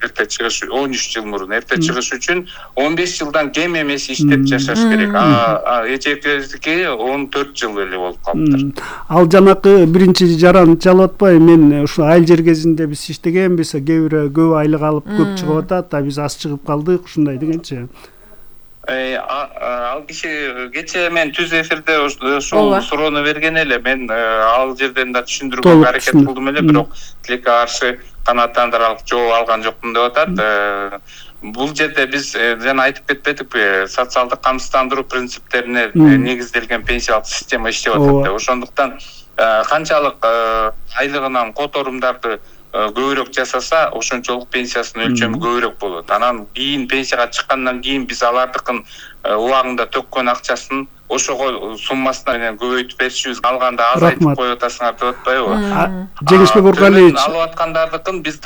эрте чыгыш, 13 жыл мурун эрте чыгыш үчүн 15 жылдан кем эмес иштеп жашаш керек. Эжекебиздики 14 жыл эле болуп калыптыр. Ал жанакы биринчи жаран чалып атпайбы? Мен ушу айыл жер кезинде биз иштегенбиз, кээ бирөө көп айлык алып көп чыгып атат, биз аз чыгып калдык, ушундай дегенчи. Ал киши кечээ мен түз эфирде ушул суроону берген эле. Мен ал жерден да түшүндүрүүгө аракет кылдым эле, бирок тилекке каршы канааттандырарлык жооп алган жокмун деп атат. Бул жерде биз жана айтып кетпедикпи, социалдык камсыздандыруу принциптерине негизделген пенсиялык система иштеп атат. Ошондуктан канчалык айлыгынан которумдарды көбүрөөк жасаса, ошончолук пенсиясынын өлчөмү көбүрөөк болот. Анан кийин пенсияга чыккандан кийин биз алардыкын убагында төккөн акчасын ошого суммасына менен көбөйтүп беришибиз, алганда азайтып коюп атасыңар деп атпайбы? Жеңишбек Уркалиевич алып аткандардыкын биз